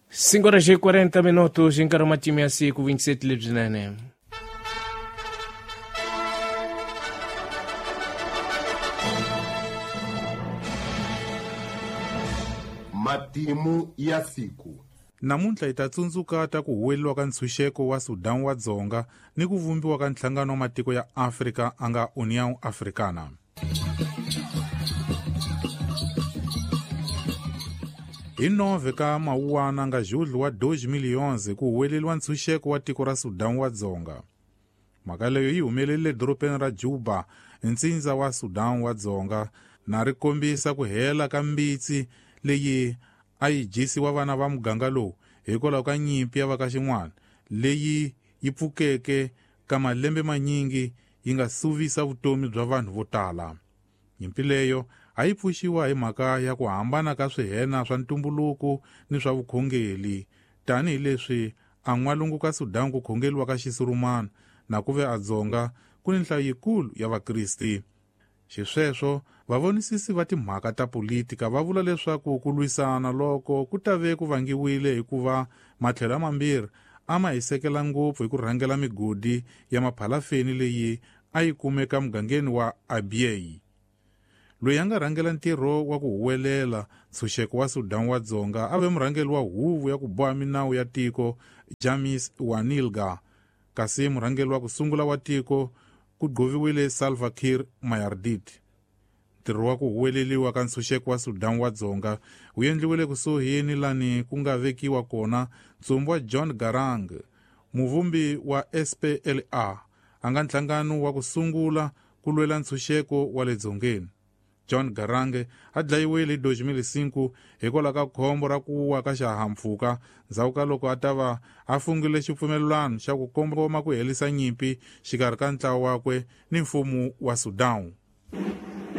5 horas e 40 minutos em Caramatime a 5, 27 lebzinene. Matimu ya siku. Namuntlha hi ta tsundzuka ta ku huweleriwa ka ntshunxeko wa Sudan wa Dzonga ni ku vumbiwa ka nhlangano wa matiko ya Afrika a nga União Africana. Hi 9 ka Mawuwana nga julho wa 2011 ku huweleriwa ntshunxeko wa tiko ra Sudan wa Dzonga. Mhaka leyo yi humelerile edorobeni ra Juba, ntsindza wa Sudan wa Dzonga, na ri kombisa ku hela ka mbitsi leyi a yi dyisiwa vana va muganga lowu hikwalaho ka nyimpi ya va ka xin'wana leyi yi pfukeke ka malembe manyingi yi nga suvisa vutomi bya vanhu vo tala. Nyimpi leyo a yi pfuxiwa hi mhaka ya ku hambana ka swihena swa ntumbuluko ni swa vukhongeli, tanihileswi a n'walungu ka Sudan ku khongeliwa ka Xisurumana na ku ve a Dzonga ku ni nhlayo yikulu ya Vakristi. Xisweswo, vavonisisi va timhaka ta politika va vula leswaku ku lwisana loko ku ta ve ku vangiwile hikuva matlhelo mambirhi a ma hisekela ngopfu hi ku rhangela migodi ya maphalafeni leyi a yi kumeka mugangeni wa Abyei. Loyi a nga rhangela ntirho wa ku huwelela ntshunxeko wa Sudan wa Dzonga a ve murhangeri wa huvo ya ku boha minawu ya tiko James Wanilga, kasi murhangeri wa ku sungula wa tiko ku gqoviwile Salva Kiir Mayardit. Ntirho wa ku huweleliwa ka ntshunxeko wa Sudan wa Dzonga wu endliwile kusuhi ni lani ku nga vekiwa kona ntsumbu wa John Garang, muvumbi wa SPLA, a nga nhlangano wa ku sungula ku lwela ntshunxeko wa le dzongeni. John Garang a dlayiwile hi 2005 hikwalaho ka khombo ra ku wa ka xihahampfhuka ndzhaku ka loko a ta va a fungile xipfumelelano xa ku kongoma ku herisa nyimpi xikarhi ka ntlawa wakwe ni mfumo wa Sudan.